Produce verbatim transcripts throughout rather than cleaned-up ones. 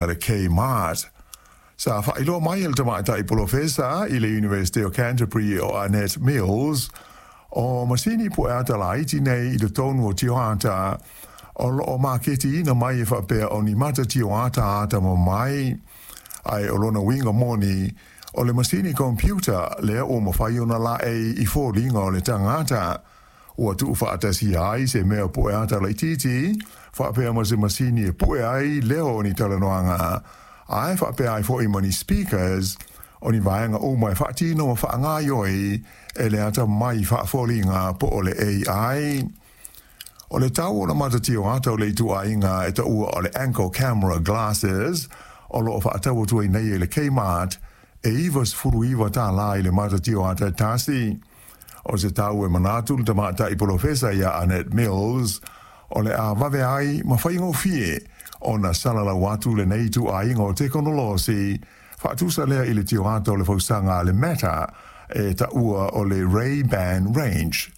A le Kmart. Sa faailoa mai e le tamaitai polofesa i le University o Canterbury o Annette Mills, o masini pueata laiti nei i totonu o tioata o loo maketiina mai e faapea o ni mata tioata atamamai, ae o lona uiga moni o le masini computer lea ua mafai ona laei i foliga o le tagata. Ua tuufaatasia ai se mea pueata laitiiti faapea ma se masini e pue ai leo o ni talanoaga, ae faapea ai foi ma ni speakers, o ni vaega uma e faatino ma faagaoioi e le atamai faafoliga po o le A I. O le tau o le mata tioata o le ituaiga e taua o le Anko Camera Glasses o loo faatau atu ai nei e le Kmart e iva sefulu iva tālā i le mata tioata e tasi. O se tau e manatu le tamaitai polofesa ia Annette Mills o le a vave ai ma faigofie ona salalau atu lenei ituaiga o tekonolosi faatusa lea i le tioata o le fausaga a le Meta e taua o le Ray-Ban Range.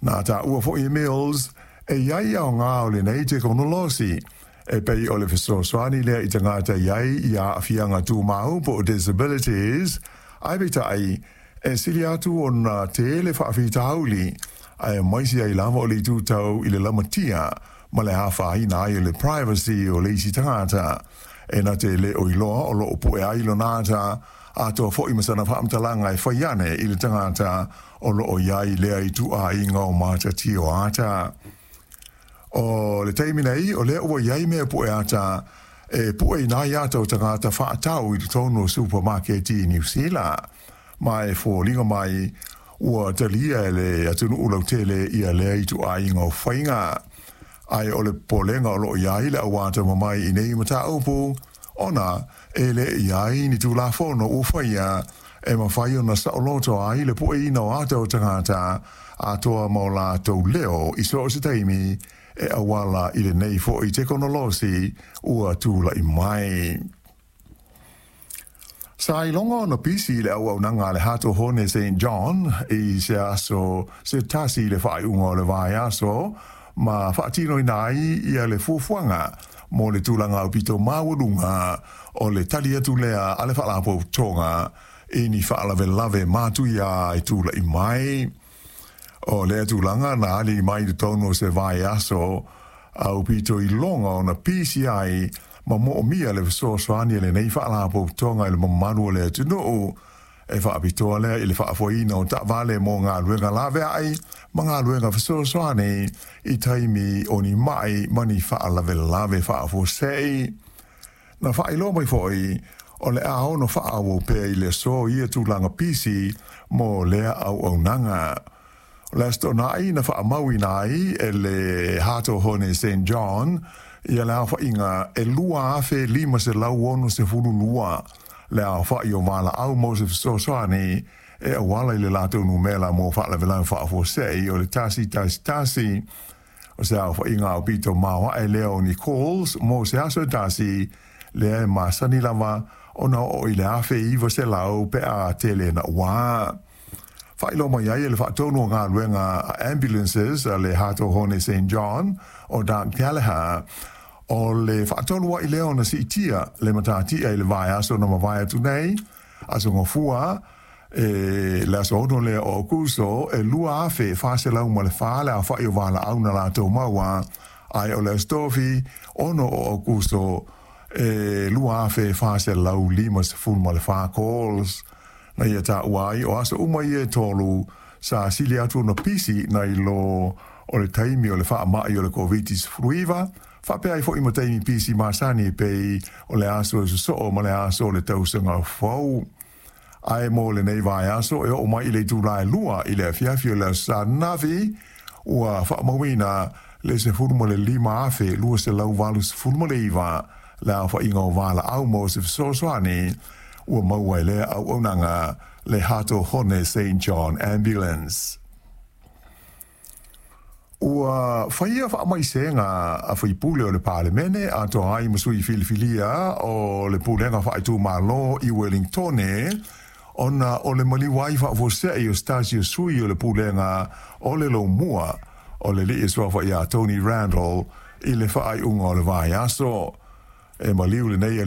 Na taua foi e Mills e i ai aoga o lenei tekonolosi e pei o le fesoasoani lea i tagata i ai i aafiaga tumau po o disabilities, ae peitai e sili atu ona tele faafitauli aemaise ai lava o le itu tau i le lamatia ma le afaina ai o le privacy o le isi tagata e na te le o iloa o loo pue ai lona ata atoa foi ma sana faamatalaga e fai ane i le tagata o loo i ai lea ituaiga o mata tioata. O le taimi nei o lea ua i ai mea pue ata e pueina ai ata o tagata faatau i totonu o supamaketi i Niu Sila, ma e foliga mai ua talia e le atunuu lautele ia lea ituaiga o faiga. Ae o le popolega o loo i ai le au atamamai i nei mataupu ona e le i ai ni tulafono ua faia e mafai ona saoloto ai le pueina o ata o tagata atoa ma o latou leo i so o se taimi e auala i lenei foi tekonolosi ua tulai mai. Sa iloga ona pisi le auaunaga a le Hato Hone Saint John i se aso se tasi i le faaiuga o le vaiaso ma faatinoina ai ia le fuafuaga mo le tulaga aupito maualuga o le tali atu lea a le faalapotopotoga i ni faalavelave matuia e tulai mai. O lea tulaga na ali mai i totonu o se vaiaso aupito iloga ona pisi ai ma moomia le fesoasoani a lenei faalapotopotoga i le mamalu o le atunuu e faapitoa lea i le faafoeina o taavale mo galuega laveai ma galuega fesoasoani i taimi o ni mai ma ni faalavelave faafuasei. Na faailoa mai foi o le a ono faaauau pea i le aso ia tulaga pisi mo lea auaunaga. O le Aso Toonai na faamauina ai e le Hato Hone Saint John ia le aofaiga e lua afe lima selau ono sefulu lua le aofai o valaau mo se fesoasoani e auala i le latou numera mo faalavelave faafuasei o le tasi tasi tasi. O se aofaiga aupito maoae lea o ni calls mo se aso e tasi lea e masani lava ona oo i le afe iva selau pe a tele naua. Faailoa mai ai e le faatonu o galuega a ambulances a le Hato Hone Saint John o Doug Gallagher o le faatolu ai lea ona siitia le matatia i le vaiaso na mavae atu nei, aso Gafua, e le aso ono lea o Aokuso, e lua afe fa selau ma le fa le aofai o valaau na latou maua, ae o le Aso Tofi ono o Aokuso e lua afe fa selau lima sefulu ma le fa calls. Na ia taua ai o aso uma ia e tolu sa sili atu ona pisi nai lo o le taimi o le faamai o le Covid sefulu iva, faapea ai foi ma taimi pisi masani e pei o le aso e sosoo ma le aso o le tausaga fou. Ae mo lenei vaiaso e oo mai i le itula e lua i le afiafi o le Aso Sa ananafi, ua faamauina le sefulu ma le lima afe lua selau valu sefulu ma le iva le aofaiga o valaau mo se fesoasoani ua maua e lea auaunaga le Hato Hone Saint John Ambulance. Ua faia faamaisega a faipule o le Palemene atoa ai ma sui filifilia o le Pulega Faaitumalo i Wellingtone ona o le maliu ai faafuasei o se tasi o sui o le Pulega o le Lomua o le alii e suafa ia Tony Randall i le faaiuga o le vaiaso. E maliu lenei